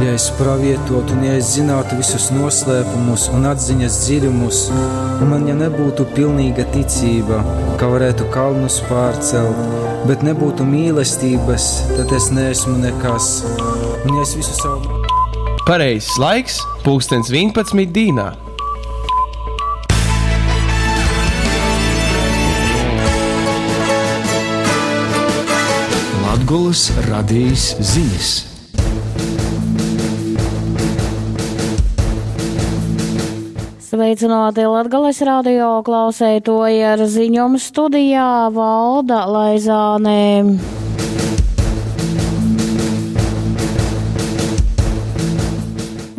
Ja es pravietotu un ja es zinātu visus noslēpumus un atziņas dziļumus, un man ja nebūtu pilnīga ticība, ka varētu kalnus pārcelt, bet nebūtu mīlestības, tad es neesmu nekas. Un ja es visu savu Pareizais laiks - pulkstens 11 dīnā. Latgulas radijas ziņas. Sveicināti Latgales radio klausētoji ar ziņom studijā Valda Laizāne.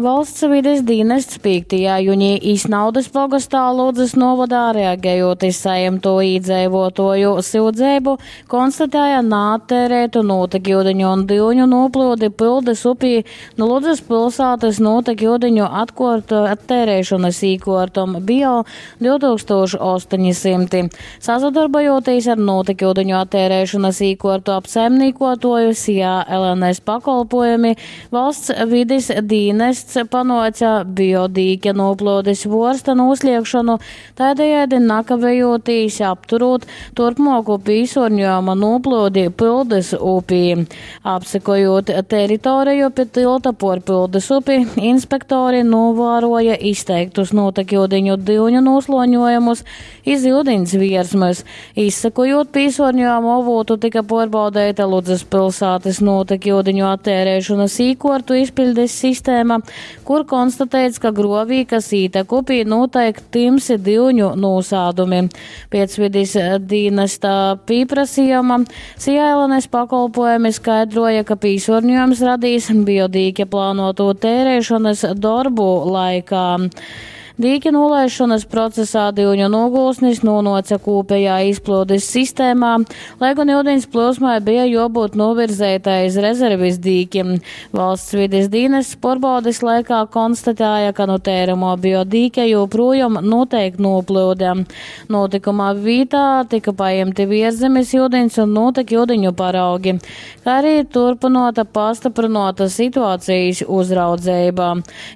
Valsts vides dienests 5. jūnijā Isnaudas pogastā Ludzas novadā reaģējot iz saimto īdzēvotoju syudzēbu, konstatēja nātērētu nūtekūdeņu un dyuņu noplūdi Pildes upī no Ludzas pilsētas nūtekūdeņu attērēšanas īkortom Bio 2800. Sasadarbojoties ar nūtekūdeņu attērēšanas īkortu apsaimnīkotoju SIA LNS pakolpojumi, valsts vides dienests panoca biodīķa noplūdes vorsta nūsliekšanu, tādējādi nakavējoties apturot turpmoku pīsorņojuma noplūdi Pildes upī. Apsekojot teritoriju pie tilta por Pildes upi, inspektori novēroja izteiktus notekūdeņu dyuņu nosloņojumus iz ūdens viersmas. Izsekojot pīsorņojumu avotu, tika pārbaudēta Ludzas pilsētas notekūdeņu attērēšanas īkortu izpildes sistēma, kur konstatēts, ka grovī, kas ītek upī, notiek timsi dyuņu nūsādumi. Pēc vides dienesta pieprasījuma SIA LNS pakolpojumi skaidroja, ka pīsorņojums radīs biodīķa plānoto tērēšanas darbu laikā. Dīķa nolaišanas procesā dyuņu nogulsnis nonoca kūpējā izplūdes sistēmā, lai gan ūdens plūsmai bija jābūt novirzētai iz rezervis dīķim. Valsts vides dienests porbaudes laikā konstatēja, ka no tēramo biodīķa joprojām notiek noplūde. Notikumā vītā tika paimti vierzemes ūdens un notek ūdeņu paraugi, kā arī turpinota pastiprināta situācijas uzraudzība.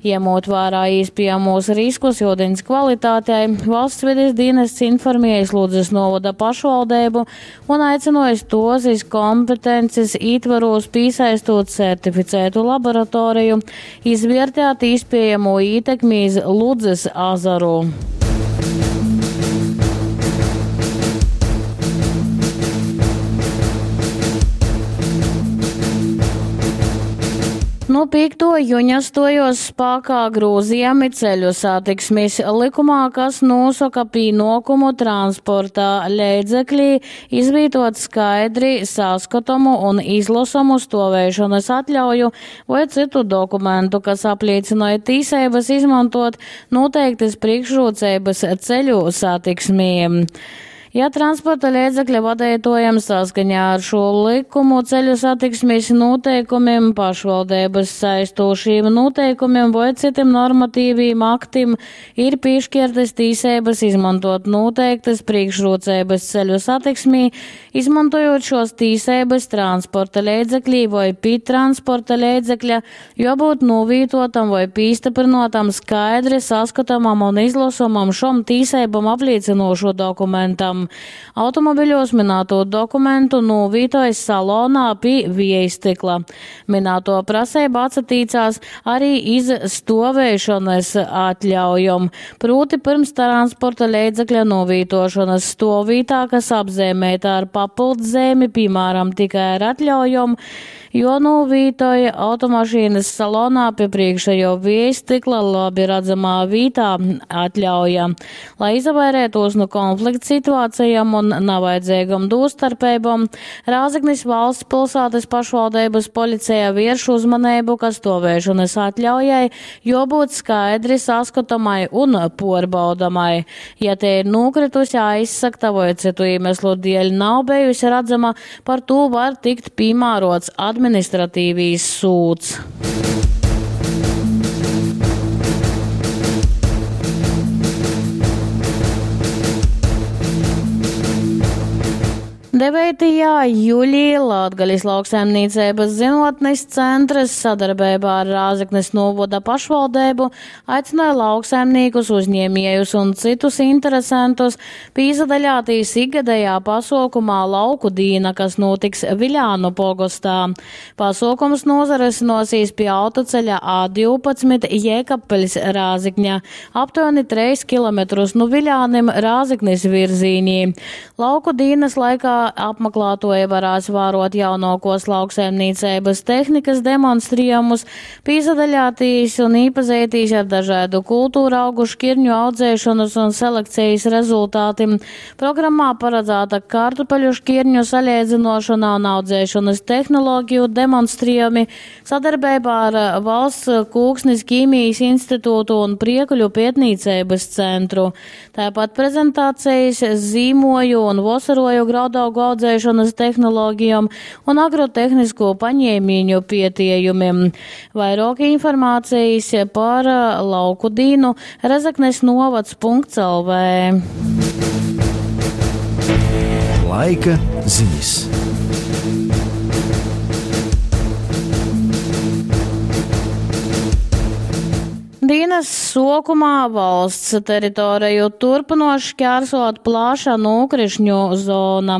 Ņemot vērā iespējamos riskus ūdens kvalitātei, valsts vides dienests informējis Ludzas novada pašvaldību un aicinājis tos iz kompetences ietvaros piesaistot certificētu laboratoriju, izvērtēt iespējamo ietekmi iz Ludzas azaru. No 5. juņa stojos spākā grūzījami ceļu satiksmes likumā, kas nosaka pīnokumu transportā leidzekļī izvītot skaidri saskatomu un izlasomu stovēšanas atļauju vai citu dokumentu, kas apliecināja tīsības izmantot noteiktas priekšrocības ceļu satiksmī. Ja transporta līdzekļa vadītājam saskaņā ar šo likumu ceļu satiksmes noteikumiem, pašvaldības saistošiem noteikumiem vai citiem normatīviem aktiem ir piešķirtas tīsības izmantot noteiktas priekšrocības ceļu satiksmī, izmantojot šos tīsības transporta līdzeklī vai pie transporta līdzekļa, jābūt novītotam vai pīstaprinotam skaidri saskatāmam un izlasomam šom tīsībam apliecinošo dokumentam. Automobiļos minēto dokumentu novītojas salonā pie viejstikla. Minēto prasību atsatīcās arī iz stovēšanas atļaujam. Proti pirms transporta līdzekļa novītošanas stovvītā, kas apzīmēta ar papildzīmi, piemēram, tikai ar atļaujam, jo novītoja automašīnas salonā pie priekšējo viejstikla labi redzamā vītā atļauja. Lai izvairētos no konflikta situācijām un navajadzīgam dūstarpībām, Rāzeknis valsts pilsētas pašvaldības policija vērš uzmanību, ka stovēšanas atļaujai jābūt skaidri saskatamai un porbaudamai. Ja te ir nokritusi aizsakta vai citu iemeslu dēļ nav bijusi redzama, par to var tikt piemērots administratīvīs sūds. 9. juļī Latgalis lauksaimnīceibys zynuotnis centrs sadarbeibā ar Rāzeknis nūvoda pašvaldeibu aicynoj lauksaimnīkus, uzņēmiejus un cytus interesentus pīsadaļātīs ikgadējā pasuokumā Lauku dīna, kas nūtiks Viļānu pogostā. Pasuokums nūsarysynosies pie autoceļa A12 Jēkabpiļs Rāzekņa, aptuveni 3 km nu Viļānim Rāzeknis virzīnī. Lauku dīnas laikā apmaklātoji varēs vārot jaunākos lauksaimniecības tehnikas demonstrējumus, pīsadaļātīs un īpazītīs ar dažādu kultūra augu šķirņu audzēšanas un selekcijas rezultātiem. Programmā paredzēta kartupeļu šķirņu salīdzinošana un audzēšanas tehnoloģiju demonstrējumi sadarbībā ar Valsts kūksnis ķīmijas institūtu un Priekuļu pētniecības centru. Tāpat prezentācijas zīmoju un vosaroju graudaugu audzēšanas tehnoloģijām un agrotehnisko paņēmiņu pietījumiem. Vairāk informācijas par lauku dīnu Rezeknes novads.lv. Laika ziņas. Dienas sokumā valsts teritoriju turpinoši šķērsot plaša nokrišņu zona.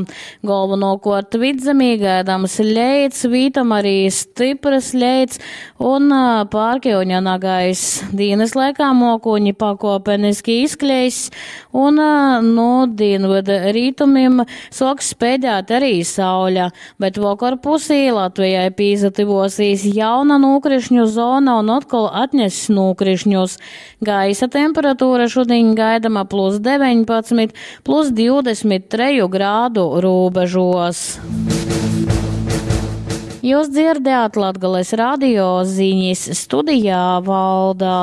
Galvenokārt vidzemī gaidāms leits, vītam arī stipras leits un pārkļuņa nagais. Dienas laikā mokuņi pakopeniski izkleis un no dienvidu rītumim soks spēdēt arī sauļa, bet vakar pusī Latvijai pīzativosīs jauna nokrišņu zona un atkal atness nokrišņus. Gaisa temperatūra šodien gaidama plus 19, plus 23 grādu robežos. Jūs dzirdējāt Latgales radio ziņas studijā Valdā.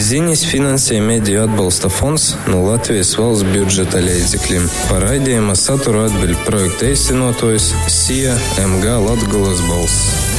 Ziņas finansē Mediju atbalsta fonds no Latvijas valsts budžeta līdzekļiem. Par raidījuma saturu atbild projekta īstenotājs SIA MG Latgulas balss.